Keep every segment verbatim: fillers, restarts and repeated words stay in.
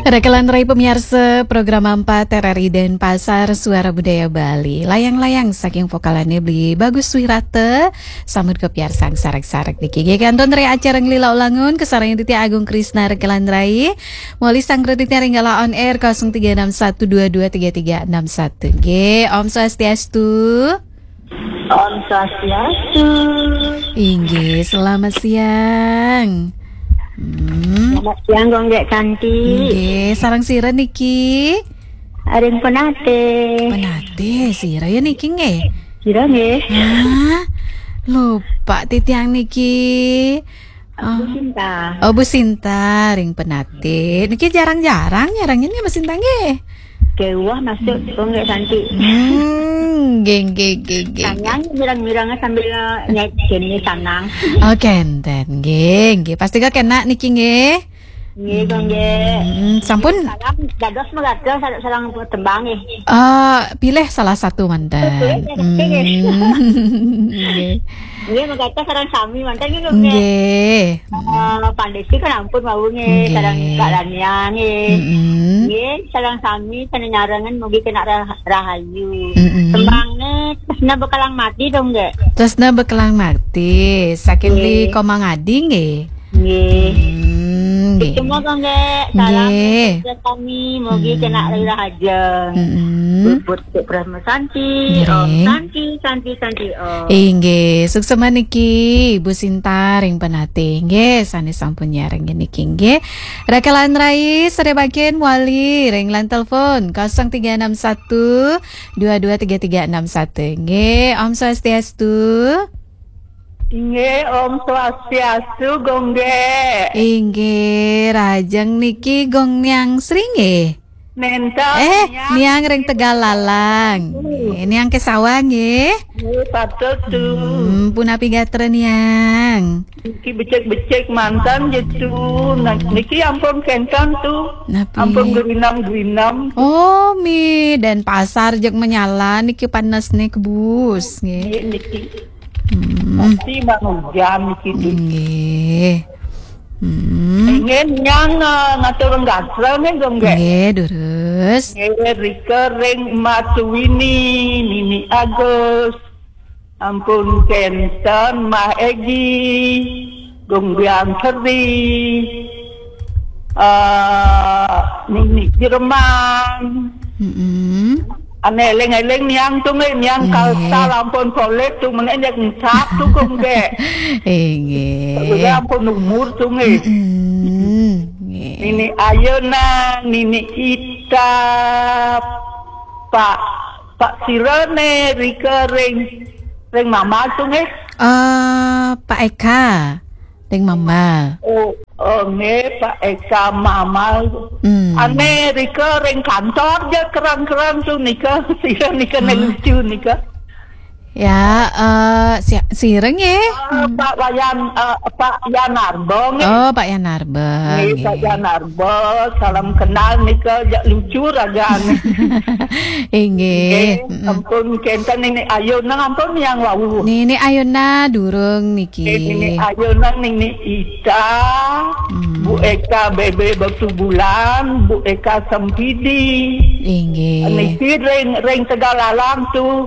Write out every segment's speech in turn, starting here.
Raka lan rai pamiarsa program empat R R I Denpasar, Suara Budaya Bali. Layang-layang saking vokalane Beli Bagus Wirata, samut kapiarsang sareng-sareng niki. Nggih, kantun ring acara Nglila Ulangun, kasarengin titiang Agung Krisna raka lan rai. Mawali sang kreditnya ring galah on air kosong tiga enam satu dua dua tiga tiga enam satu. Nggih, Om Swastiastu. Om Swastiastu. Inggih, selamat siang. Hmm. Selamat siang, Gung Gek Cantik. Nggih, sareng sira niki? Aring Penate. Penate, sira ya niki nggih? Sira nggih. Hah? Lupa titiang niki. Oh. Bu Sinta. Oh, Bu Sinta, ring Penate. Niki jarang-jarang nyarengin ya, Bu Sinta nggih? Nggih, wah masuk, Gung Gek Cantik. Hmm, nggih, nggih, nggih, nggih, nggih. Sanang, mirang-mirang sambil nyai jenis sanang. Oh, kenten, nggih, nggih. Pasti kok kena niki nggih. Nggih, Gung Gek. Hmm, sampun. Salam, dados mekaten, sareng, sareng tembang nggih. Eh, pilih salah satu manten. Oke, oke, oke. Hmm, nggih. Nggih, mekaten sareng sami manten nggih, Gung Gek. Nggih. Eh, Pandesi kan ampun wau nggih, nggih. Sareng Kak Lania nggih. Mm-mm. Nggih, sareng sami sané nyarengin mugi kena rah-, rahayu. Mm-mm. Tembangnya Tresna Bekelang Mati dong, Gek. Tresna Bekelang Mati, saking Beli Nggih. Komang Adi nggih. Nggih. Hmm, nggih. Itu mah, Gung Gek. Salam Nggih. Untuk kami, mugi Hmm. kena rira aja. Mm-mm. Bubut Cik Brahma Santi, Ngiring. Om Santi, Santi, Santi, Om. Inggih, suksma niki, Ibu Sinta ring Penate. Nggih, sané sampun nyarengin niki nggih. Raka lan rai, sané mangkin mawali ring line telepon kosong tiga enam satu dua dua tiga tiga enam satu. Nggih, Om Swastiastu. Inggih, Om Swastiastu, Gung Gek. Inggih, rahajeng niki Gung Niang Sri nggih? Nenten, Eh, Niang. Niang ring Tegal Lalang. Hmm. Nggih, Niang Kesawa nggih? Nggih, patut tu. Hmm, punapi gatra Niang? Niki becik-becik manten gitu. Nah, niki ampun kenten tu. Napi? Ampun gerinam-gerinam. Oh, mi, Denpasar jeg menyala niki panas nih kebus nggih. Nggih, niki. Hmm. Pasti bang hujan niki tu. Nggih. Hmm. Inggih Niang, eh, ngatur gatra nggih, Gung Gek? Nggih, durus. Nggih, rika ring Matuwini, Nini Agus. Ampun kenten Mah Egi, Gung Biang Seri, eh, Nini Jerman. Mm-mm. Ané eling-eling Niang tu nggih, Niang Nggih. Kalsel ampun polih tu, menék nyak encap tu, Gung Gek. Inggih. Udah ampun umur tu nggih. Mm-mm. Nggih. Nini Ayunan, Nini Ita, Pak, Pak sira né rika ring, ring Mamal tu nggih. Eh, Pak Eka, ring Mamal. Oh, oh, nggih, Pak Eka Mamal. Hmm. Ané rika ring kantor ja kerang-kerang tu nika, sira nika né Hah? lucu nika. Ya, eh, si-, sira nggih? Eh, Hmm. Pak Wayan, eh, Pak Yan Arbo nggih. Oh, Pak Yan Arbo, Nggih, Pak nggih. Yan Arbo, salam kenal nika, jak lucu ragan. Inggih. Nggih, Mm-mm. ampun kenten Nini Ayunan ampun Niang wau. Nini Ayunan durung niki. Nggih, Nini Ayunan, Nini Ita, Hmm. Bu Eka Bebe Batu Bulan, Bu Eka Sempidi. Inggih. Niki ring, ring Tegal Lalang tu.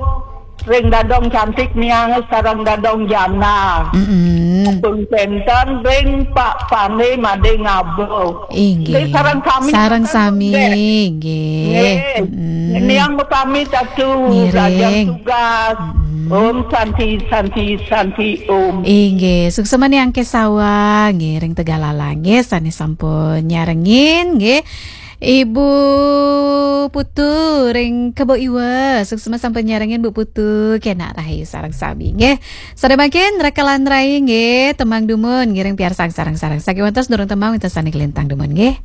Ring Dadong Cantik Niang sareng Dadong Jana. Mm-mm. Pun kenten ring Pak Pane Made Ngabo. Inggih. Nggih, sareng sami Sareng sami, nggih. Nggih. Mm-mm. Niang pamit atu, Ngiring. Rajan tugas. Mm-mm. Om Santi, Santi, Santi, Om. Inggih, suksma Niang Kesawa, nggih, ring Tegal Lalang, nggih, sané sampun nyarengin, nggih. Ibu Putu ring Kebo Iwa, suksma sampun nyarengin Bu Putu, kena rahayu sareng sami nggih. Sané mangkin raka lan rai nggih, tembang dumun ngiring piarsang sareng-sareng. Sakiwantos durung tembang wénten sané kalintang dumun nggih.